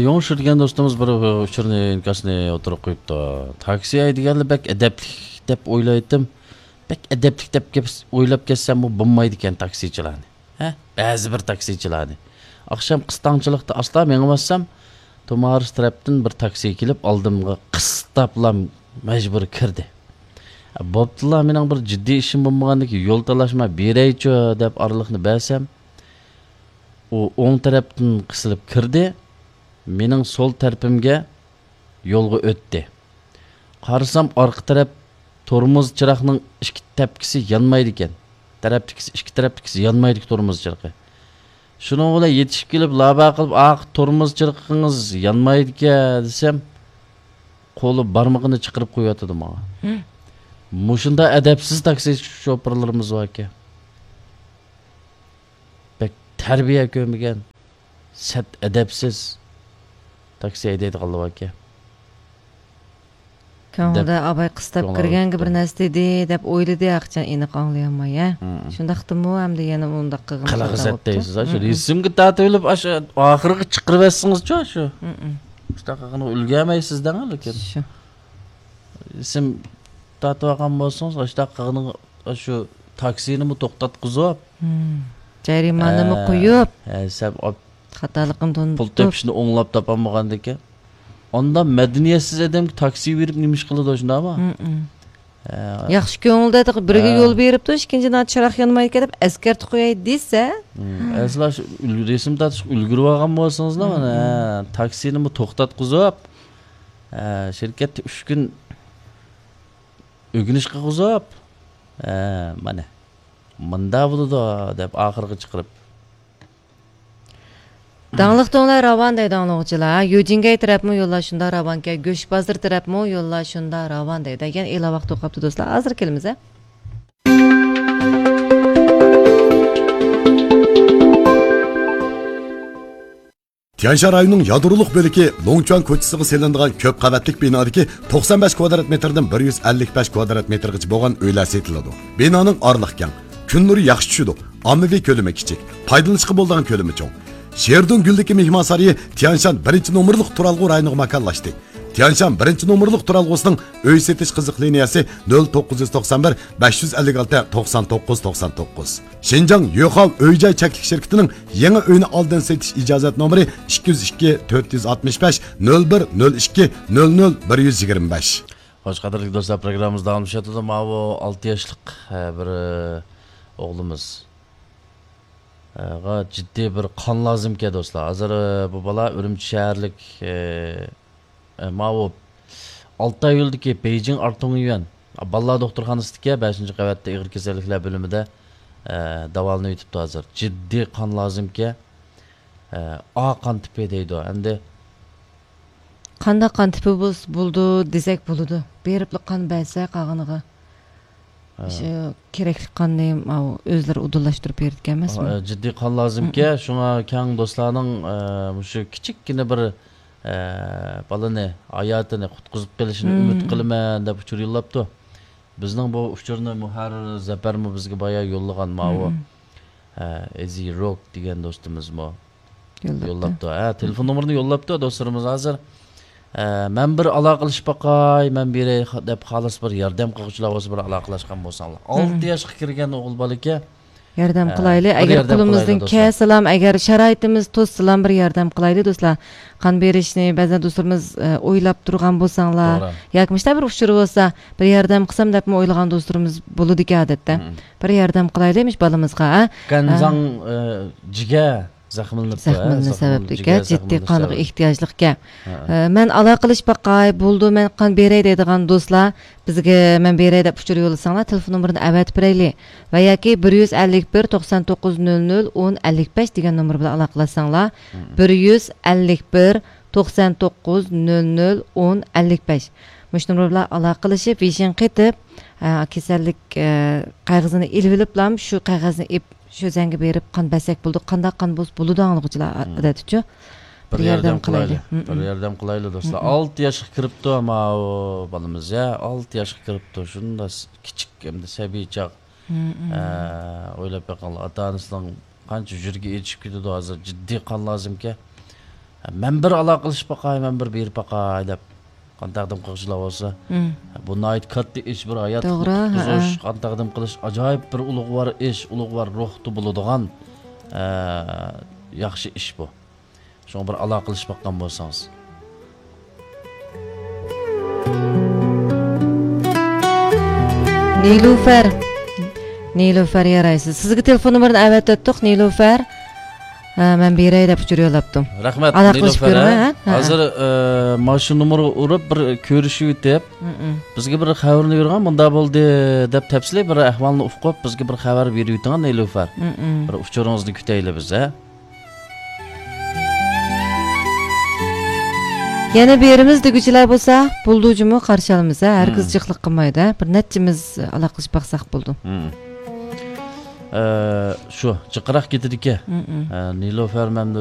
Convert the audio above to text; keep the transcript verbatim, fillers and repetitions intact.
يوڭشۇ دېگەن دوستىمىز بىر ئۇچۇرنى، ئىنكاسنى ئوتتۇرىغا قويۇپتۇ. تاكسى ھەيدىگەنلەر بەك ئەدەپلىك دەپ ئويلايتتىم. بەك ئەدەپلىك دەپ گەپ ئويلاپ كەتسەممۇ بولمايدىكەن تاكسىچىلارنى. ھە؟ بەزى بىر تاكسىچىلارنى. ئاخشام قىستاڭچىلىقتا ئاستا مېڭىۋاتسام، تۇمارىس تەرەپتىن بىر تاكسى كېلىپ ئالدىمغا قىستاپلا مەجبۇرىي كىردى. بوپتۇلا، مېنىڭ بىر جىددىي ئىشىم بولمىغاندىكىن يول تالاشماي بېرەيچۇ دەپ ئارىلىقنى بەرسەم، ئۇ ئوڭ تەرەپتىن قىسىلىپ كىردى، مېنىڭ سول تەرىپىمگە يولغا ئۆتتى. قارىسام، ئارقا تەرەپ تورمۇز چىراغنىڭ ئىككى تەپكىسى يانمايدىكەن. تەرەپتىكىسى، ئىككى تەرەپتىكىسى يانمايدىكەن تورمۇز چىرىقى. شۇنىڭ بىلەن يېتىشىپ كېلىپ، لابا قىلىپ، «ئاخ، تورمۇز چىرىقىڭىز يانمايدىكەن» دېسەم، قولى بارمىقىنى چىقىرىپ قويۇۋاتىدۇ ماڭا. ھە. مۇشۇنداق ئەدەپسىز تاكسى شوپۇرلىرىمىز باركەن. بەك تەربىيە كۆرمىگەن، سەت ئەدەپسىز تاكسى ھەيدەيدىغانلار باركەن. كۆڭلىدە دەپ، ئاباي قىستاپ كۆڭلىدە كىرگەنگە بىر تۇتۇپ. نەرسە دېدى دەپ ئويلىدى، ئاخچان ئېنىق ئاڭلىيالماي، ھە؟ مم. شۇنداقتىمۇ ئەمدى يەنە ئۇنداق قىلغىنى قىلىغا خاتا زەت بوپتۇ. دەيسىز، ھە؟ شۇ مم. رېسىمگە تارتىۋېلىپ، ئاشۇ ئاخىرىغا چىقىرىۋەتسىڭىزچۇ، شۇ. مم. شۇنداق قىلغىنىغا ئۈلگۈرمەيسىز دەڭ، لېكىن. شۇ. رېسىم تارتىۋالغان بولسىڭىز، ئاشۇنداق قىلغىنىغا، شۇ تاكسىنىمۇ توختاتقۇزۇپ. مم. جەرىمانىمۇ ھە، قويۇپ. ھە، سەپ ئاپ-، خاتالىقىنى پۇل تونۇتۇپ. تېپىشنى ئوڭلاپ تاپالمىغاندىكىن. ئاندا مەدەنىيەتسىز ئادەمگە تاكسى بېرىپ نېمە ئىش قىلىدۇ شۇنداقمۇ؟ مم. ھە. ياخشى كۆڭۈلدە بىرىگە ھە. يول بېرىپتۇ، ئىككىنچى ناچ چىراغ يانمايدىكەن دەپ ئەسكەرتىپ قوياي دېسە. مم. ئەسلا شۇ ئۈل-، رەسىم تارتىشقا ئۈلگۈرۈۋالغان بولسىڭىزلا، مم. مانا، ھە، تاكسىنىمۇ توختاتقۇزۇپ، ھە، شىركەتتە ئۈچ كۈن ئۆگىنىش قىلغۇزۇپ، ھە، مانا، مۇندا بولىدۇ دەپ ئاخىرغا چىقىرىپ. داڭلىق توڭلار راۋان دەيدۇ ئاڭلىغۇچىلار. يۇجىنگەي تەرەپمۇ يوللار شۇنداق راۋانكەن، گۆشبازار تەرەپمۇ يوللار شۇنداق راۋان دەيدۇ. يەنە ئېلان ۋاقتى بولۇپ قاپتۇ دوستلار، ھازىر كېلىمىز ھە. تيەنشان رايونىنىڭ يادرولۇق بۆلىكى لوڭچۈەن كوچىسىغا سېلىنىدىغان كۆپ قەۋەتلىك بىنادىكى توقسان بەش كۋادرات مېتىردىن بىر يۈز ئەللىك بەش كۋادرات مېتىرغىچە بولغان ئۆيلەر سېتىلىدۇ. بىنانىڭ ئارىلىقى كەڭ، كۈن نۇرى ياخشى چۈشىدۇ، ئاممىۋى كۆلىمى كىچىك، پايدىلىنىشقا بولىدىغان كۆلىمى چوڭ. شېردۇن گۈلدىكى مېھمانسارىيى تيەنشان بىرىنچى نومۇرلۇق تۇرالغۇ رايونىغا ماكانلاشتى. تيەنشان بىرىنچى نومۇرلۇق تۇرالغۇسىنىڭ ئۆي سېتىش قىزىق لىنىيەسى نۆل توققۇز يۈز توقسان بىر، بەش يۈز ئەللىك ئالتە، توقسان توققۇز، توقسان توققۇز. شىنجاڭ يوخاۋ ئۆي جاي چەكلىك شىركىتىنىڭ يېڭى ئۆينى ئالدىن سېتىش ئىجازەت نومۇرى ئىككى يۈز ئىككى، تۆت يۈز ئاتمىش بەش، نۆل بىر، نۆل ئىككى، نۆل نۆل، بىر يۈز يىگىرمە بەش. خوش، قەدىرلىك دوستلار، پروگراممىمىز داۋاملىشىۋاتىدۇ. ماۋۇ ئالتە ياشلىق، ئە، بىر، ئە، ئوغلىمىز، ئە، غا جىددىي بىر قان لازىمكەن، دوستلار. ھازىر، ئە، بۇ بالا ئۈرۈمچى شەھەرلىك، ئە، ئە، ماۋۇ ئالتاي يولىدىكى بېيجىڭ ئارتۇڭيۈەن بالىلار دوختۇرخانىسىدىكى بەشىنچى قەۋەتتە ئېغىر كېسەللىكلەر بۆلۈمىدە، ئە، داۋالىنىۋېتىپتۇ ھازىر. جىددىي قان لازىمكەن. ئە، ئا قان تىپى دەيدۇ. ئەمدى قانداق قان تىپى بولسا بولىدۇ دېسەك بولىدۇ. بېرىپلا قان بەرسە قالغىنىغا. ھە. شۇ كېرەكلىك قاننى ماۋۇ ئۆزلىرى ئۇدۇللاشتۇرۇپ بېرىدىكەن ئەمەسمۇ؟ ئە، جىددىي قان لازىمكەن. مم. شۇڭا كەڭ دوستلارنىڭ، ئە، مۇشۇ كىچىككىنە بىر، ئە، بالىنى، ھاياتىنى قۇتقۇزۇپ قېلىشىنى مم. ئۈمىد قىلىمەن دەپ ئۇچۇر يوللاپتۇ. بىزنىڭ بۇ ئۇچۇرنى مۇھەررىر زەپەرمۇ بىزگە بايا يوللىغان ماۋۇ. مم. ھە، ئېزى روك دېگەن دوستىمىزمۇ يوللاپتۇ. يوللاپتۇ. ھە، تېلېفون نومۇرىنى يوللاپتۇ دوستلىرىمىز ھازىر. ھە، مەن بىر ئالاقىلىشىپ باقاي، مەن بېرەي خا-، دەپ خالىسا بىر ياردەم قىلغۇچىلار بولسا بىر ئالاقىلاشقان بولساڭلار. مم. ئالتە ياشقا كىرگەن ئوغۇل بالا ئىكەن. ياردەم ھە، قىلايلى. بىر ئەگەر ياردەم قولىمىزدىن قىلايلى دوستلار. كەلسىلام، ئەگەر شارائىتىمىز توسسىلام بىر ياردەم قىلايلى دوستلار. قان بېرىشنى بەزەن دوستلىرىمىز، ئە، ئويلاپ تۇرغان بولساڭلار، توغرا. ياكى مۇشۇنداق بىر ئۇچۇر بولسا، بىر ياردەم قىلسام دەپمۇ ئويلىغان دوستلىرىمىز بولىدىكەن ئادەتتە. مم. بىر ياردەم قىلايلى مۇشۇ بالىمىزغا، ھە؟ گەنزاڭ، ئە، ئە، جىگەر زەخىملىنىپتۇ، ھە؟ زەخىملىنىش زەخىملىنىپ، سەۋەبلىككە جىگەر جىددىي زەخىملىنىش قانغا سەۋەبلىك. ئېھتىياجلىقكەن. ھە. ئە، مەن ئالاقىلىشىپ باقاي، بولىدۇ، مەن قان بېرەي دەيدىغان دوستلار بىزگە مەن بېرەي دەپ ئۇچۇر يوللىساڭلار، تېلېفون نومۇرىنى ئەۋەتىپ بېرەيلى. ۋە ياكى بىر يۈز ئەللىك بىر، توقسان توققۇز، نۆل نۆل، ئون، ئەللىك بەش دېگەن نومۇر بىلەن ئالاقىلەشسەڭلار، مم. بىر يۈز ئەللىك بىر، توقسان توققۇز، نۆل نۆل، ئون، ئەللىك بەش. مۇشۇ نومۇر بىلەن ئالاقىلىشىپ، ۋىشىڭ قېتىپ، ئە، كېسەللىك، ئە، قەغىزىنى ئېلىۋېلىپلا، شۇ قەغەزنى ئېپ، شۇ زەڭگە بېرىپ قان بەرسەك بولىدۇ. قانداق قان بولسا بولىدۇ ئاڭلىغۇچىلار، مم. ئادەتتىچۇ. بىر بىر ياردەم ياردەم قىلايلى. قىلايلى. مم، بىر مم. ياردەم قىلايلى، دوستلار. مم، مم. ئالتە ياشقا كىرىپتۇ، ماۋۇ بالىمىز، يا. ئالتە ياشقا كىرىپتۇ. شۇنداق س-، كىچىك، ئەمدى سەبىي چاغ. مم، مم. ئە، ئويلاپ بېقىڭلار، ئاتا-ئانىسىنىڭ قانچە يۈرىكى ئېچىشىپ كېتىدۇ ھازىر، جىددىي قان لازىمكەن. مەن بىر ئالاقىلىشىپ باقاي، مەن بىر بېرىپ باقاي دەپ قان تەقدىم قىلغۇچىلار بولسا، مم، بۇ ناھايىتى كاتتا ئىش، بىر ھاياتلىقنى، توغرا، قۇتقۇزۇش، ھەئە، قان تەقدىم قىلىش ئاجايىپ بىر ئۇلۇغۋار ئىش، ئۇلۇغۋار روھتا بولىدىغان، ئە، ياخشى ئىش بۇ. شۇڭا بىر ئالاقىلىشىپ باققان بولسىڭىز. نىلۇفەر. نىلۇفەر يارايسىز. سىزگە تېلېفون نومۇرىنى ئەۋەتىۋەتتۇق، نىلۇفەر. ھە، مەن بېرەي دەپ ئۇچۇر يوللاپتۇ. رەھمەت، ئالاقىلىشىپ نىلۇفەر، كۆرۈڭ، ھە؟ ھە؟ ھە. ھازىر، ئە، مانا شۇ نومۇرغا ئۇرۇپ، بىر كۆرۈشۈۋېتىپ، مم، بىزگە بىر خەۋىرىنى بېرىڭ، مۇنداق بولدى دەپ تەپسىلىي بىر ئەھۋالنى ئۇقۇپ، بىزگە بىر خەۋەر بېرىۋېتىڭ، نىلۇفەر. مم. بىر ئۇچۇرىڭىزنى كۈتەيلى بىز، ھە؟ يەنە بېرىمىز دېگۈچىلەر بولسا، بولدى جۇمۇ، قارشى ئالىمىز، ھە؟ ھەرگىز، مم، جىقلىق قىلمايدۇ، ھە؟ بىر نەچچىمىز ئالاقىلىشىپ باقساق بولدى. مم. ئە، شۇ، جىقراق كېتىدىكەن. مم. ئە، نىلۇفەر مەمدۇ